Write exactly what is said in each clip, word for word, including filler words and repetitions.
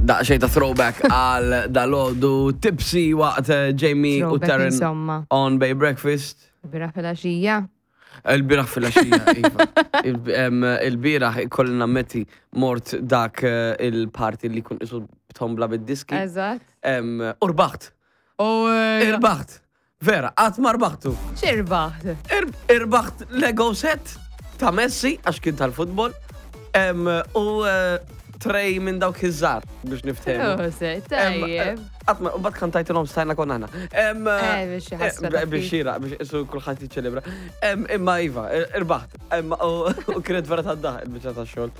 Daqxej ta' throwback għal dalgħodu Tipsy waqt eh, Jamie u Throwback Taryn insomma. on Bay Breakfast. Bieraħ filgħaxija. Il-bieraħ filgħaxija, iva. Il- em, Il-bieraħ ikolli nammetti mort dak eh, il-party li kun isu tombla bid-diski. Eżatt. Em, U rbaħt. U Irbaħt. Vera, qatt ma rbaħtu. x'irbaħt? Ir- Irbaħt Lego set ta' Messi, għax kien tal-futbol. Em, U eh, tray minn dawk iż-żgħar biex niftehmu. Oh, se, tajjeb. Għatma, u bat kantajtilhom stajna konna aħna. Em, Eh, biex ħasra ta' Biex ftit. xira, biex isu kulħadd jiċċelebra. Em, Imma iva, irbaħt. Em, U u kienet vera ta' daħ il-biċċa ta' xogħol.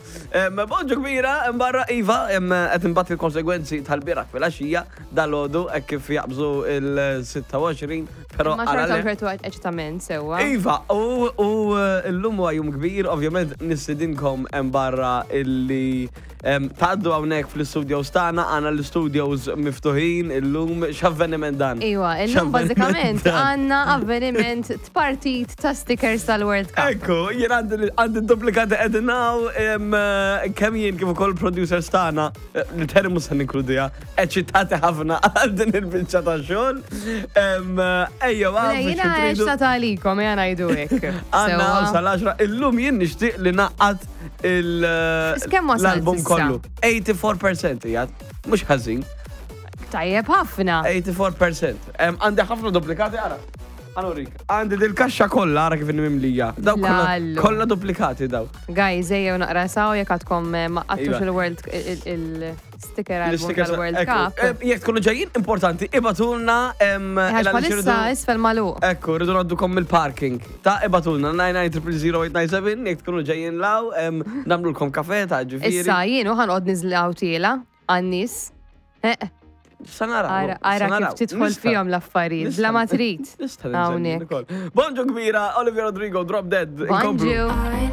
Em, Bonġu kbira, em, barra iva, em, qed imbagħad il-konsegwenzi tal-bieraħ filgħaxija dalgħodu hekk kif jaqbżu il-sitta u għoxrin, però Ma għala xorta le. ċertu eċitament sewwa. Iva, u u eh, llum huwa jum kbir, ovvjament nistidinkom hemm barra illi em, tgħaddu hawnhekk fl-studios tagħna, għandna l-studios miftuħin illum, x'avveniment dan? Iwa, illum X'avveniment bażikament dan? għandna avveniment partit ta' stickers tal-World Cup. Ekku, jien għandi għandi duplikati qegħdin hawn, em, eh, kemm jien kif ukoll producers tagħna, eh, li termu se ninkludiha, eċitati ħafna għal din il-biċċa ta' xogħol. Em, eh, Ejja, Mela, Jiena eċitata għalikom, jena ngħidu hekk. Għanna Sewwa. sal-għaxra, illum jien nixtieq li naqqat il- Kemm wasalt l-album issa? kollu. tminja u disgħin fil-mija jgħat, mhux ħażin, Tajjeb ħafna. tminja u disgħin fil-mija. Em, Għandi ħafna duplikati, ara. Għanorik, għandi dil-kaxxa kollha, ara kif mimlija. Daw kollha Lallu. kollha duplikati daw. Guys, ejjew naqra saw jekk għadkom eh, ma qattux Iva. il-World il-sticker album L-stickers- tal-World ekku. Cup. Em, Jekk tkunu ġejjin, importanti, ibgħatulna em, Għax il għaliex bħalissa irridu- isfel magħluq. Ekku, rridu ngħaddukom mill-parking. Ta' ibgħatulna tnejn tnejn zero zero zero tmien tnejn seba jekk tkunu ġejjin law, em, nagħmlulkom kafe ta' ġifieri. Issa jien u ħa noqgħod niżlaw tiela għan-nies. Eh, Sa naraw. Ara ara sa naraw. kif tidħol Nista' fihom l-affarijiet, bla ma trid. Nista' Hawnhekk. Bonġu kbira, Olivia Rodrigo, Drop Dead. Inkomplu. Bonġu. I